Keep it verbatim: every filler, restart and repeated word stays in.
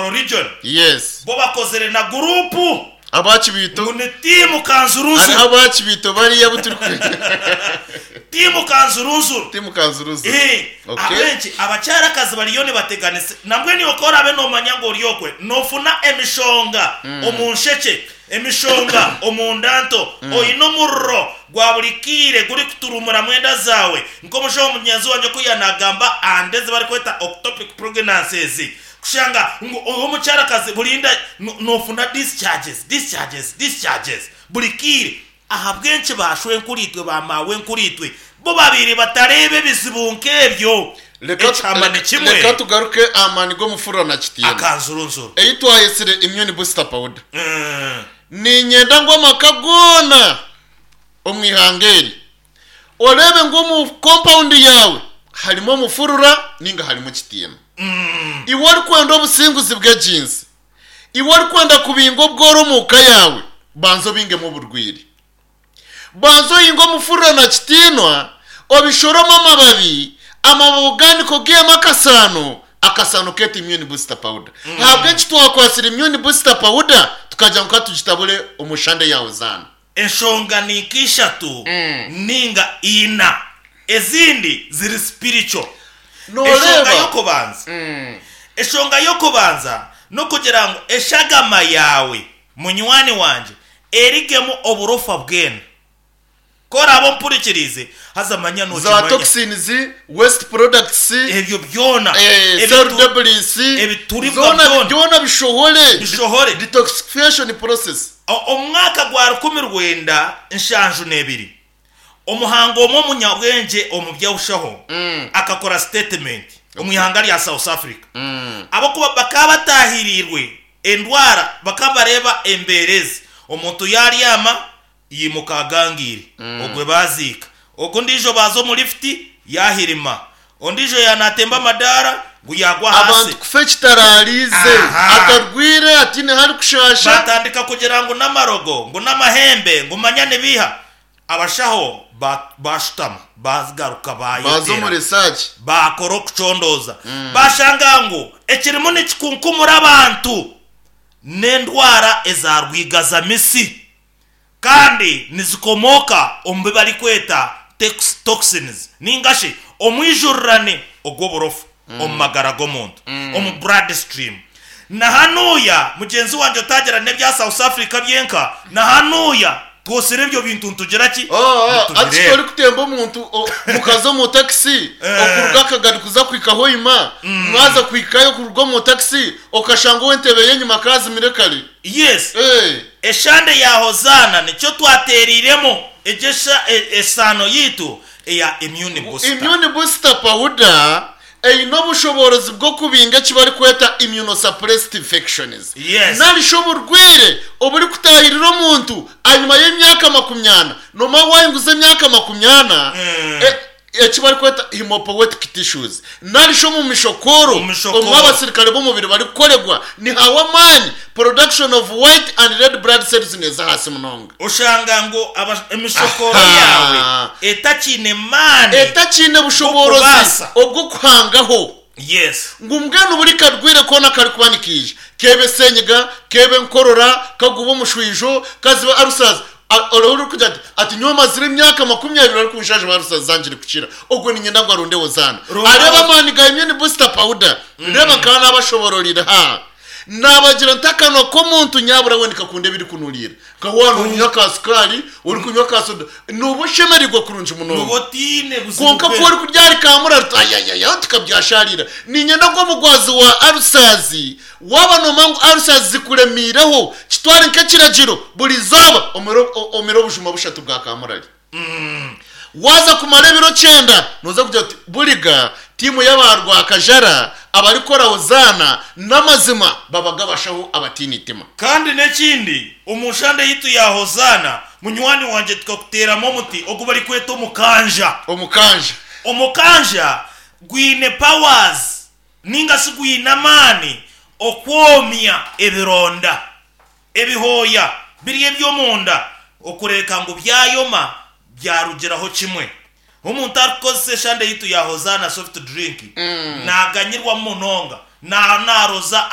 Tororo region. Yes. Bo bakozire na guruupu. Aba Kibiito. Ngu ni tiimu kanzurunzuru. Hariho aba Kibiito bariya abu turi. Tiimu kanzurunzuru. Tiimu kanzurunzuru. Eh, Okay. ahabw'enki abakyarakazi bariyo nibateganisa? Nambwenu iwe ku oraabe noomanya ngu ori okwe, noofuna emishonga omu nshekye, emishonga omu nda nto, oine omuriro gwa buri kaire gurikuturumuramu enda zaawe, nk'omushaho mugyenzi wangye oku yaanagamba aha nda ezi barikweta ectopic pregnancies, kushanga ngu ori omukyarakazi buri nda noofuna discharges, discharges, discharges buri kaire. Ahabw'enki ba shwenkuriitwe, ba maawenkuriitwe bo babaire batareeba ebizibu nk'ebyo? Reka Ekihama ni kimwe. Reka tugaruke aha maani g'omufurura na kitiinwa. Akanzurunzuru. Ei twayetsire Immune Booster Powder. Niinyenda ngu amaka goona omu ihanga eri oreebe ngu omu kompawundi yaawe harimu omufurura nainga harimu kitiinwa. Iwe orikwenda obusinguzi bw'egi nsi, iwe orikwenda kubinga obworo omu ka yaawe, banza obingemu oburwaire. Banza ohinge omufurura na kitiinwa, obishorome amababi, amababi ogaanike ogaihemu akasaano, akasaano keete immune booster powder. Ahabw'enki twakwatsire immune booster powder tukagira ngu ka tugitabure omu shande yaawe zaana? Enshonga ni nka ishatu ninga ina, ezindi ziri spiritual. Enshonga Nooreeba? y'okubanza, enshonga y'okubanza n'okugira ngu eshagama yaawe munywani wangye erigemu oburofa bwena. Ku oraabe ompurikiriize, haza manya Za nookimanya. toxins, waste products, Ebyo byona, eh, cell ebitu- debris, ebituribwa zoona byona. byona bishohore. Bishohore. Detoxification process. O- Omu mwaka gwa rukumi rwenda nshanju n'ebiri, omuhangu omwe omunyabwengye omu by'obushaho akakora sitatimenti omu ihanga rya South Africa. Ahabw'okuba bakaba bataahiriirwe endwara, bakaba bareeba embeera ezi, omuntu yaaryama yaimuka agangaire, ogwo baaziika, ogwo ondiijo baaza omu lifuti yaahirima, ondiijo yaaba naatemba amadaara ngu yaagwa ahansi. Abantu kufa ekitaraariize, Aha. atarwaire, ataine ahu arikushaasha. Baatandika kugira ngu n'amarogo, ngu n'amahembe, ngu manya nibiiha. Abashaho ba- baashutama, baagaruka Baaza omu baayetera. research. Baakora okucondooza, baashanga ngu ekirimu nikikunkumura abantu n'endwara eza rwigazamisi kandi nizikomooka omu bi barikweta toxins ninga shi omwijurirane ogw'oburofa omu magara g'omuntu, omu blood stream. Na hanuuya mugyenzi wangye otagira n'ebya South Africa byenka, na hanuuya twotsire ebyo bintu nitugira ki? Oh, oh, ati Nitubireeba. torikutemba omuntu o- mukaza omu takisi okuruga akagari kuza kuhika Hoima, mwaza kuhikayo kuruga omu takisi okashanga ow'entebe y'enyima akaazimire kare. Yes. Eh. Eshande ya Hozaana nikyo twateereiremu egyo esha- e- esaano yaitu eya Immune Booster. Immune Booster Powder eine obushoboorozi bw'okubinga eki barikweta immunosuppressed infections Yes. nari shi oburwaire oburikutaahirira omuntu ahanyima y'emyaka makumi ana. Noomanya waahinguza emyaka makumi ana, e- eki barikweta hemopoietic tissues nari shi omu mishokooro Omu mishokooro. omu abasirikare b'omubiri barikukoregwa nihawa amaani, production of white and red blood cells neeza ahansi munonga. Oshanga ngu aba- emishokooro Aha. yaawe etakiine maani Etakiine bushoboorozi bw'okubaasa. obw'okuhangaho. Yes. Ngu mbwenu buri karwaire koona karikuba nikaija, keebe senyiga, keebe enkorora, kaguba omushwijo, kazibe arusazi, oriho orikugira ati, ati nyowe mazire emyaka makumi abiri barikunshanjaba arusazi zangire kukira, ogwo niinyenda ngu aronde Hozaana. Ronda Areebe amaani ga Immune Booster Powder. Reeba nkaba naabashobororire ha. Naabagira nti akanwa k'omuntu nyabura we nikakunda ebirikunuriira. Nka waaba noonywa ka sukaari, orikunywa ka soda, nooba oshemereirwe kurungi Nooba munonga. otaine buzibu Kwonka ku bwena. orikurya ahari kaamurari oti ayayaya tikabyashaarira. Niinyenda ngu omugwazi wa alusazi, waaba noomanya ngu alusazi zikuremiireho, kitware nk'ekiragiro buri izooba omire omire obujuma bushatu bwa kaamurari. Waaza kumara ebiro kyenda, nooza kugira oti, Buriga, tiimu y'aba Rwakajara abarikukora Hozaana n'amazima babaga abashaho abataine itima. Kandi n'ekindi, omu nshanda yaitu ya Hozaana, munywani wangye tukakuteeramu omuti ogu barikweta omukanja. Omukanja. Omukanja gwine powers ninga shi gwine amaani okwomya ebironda. Ebihooya biri eby'omunda okureeka ngu byayoma byarugiraho kimwe. Omuntu arikukozesa eshande yaitu ya Hozaana soft drink naaganyirwamu munonga, naaba naaroza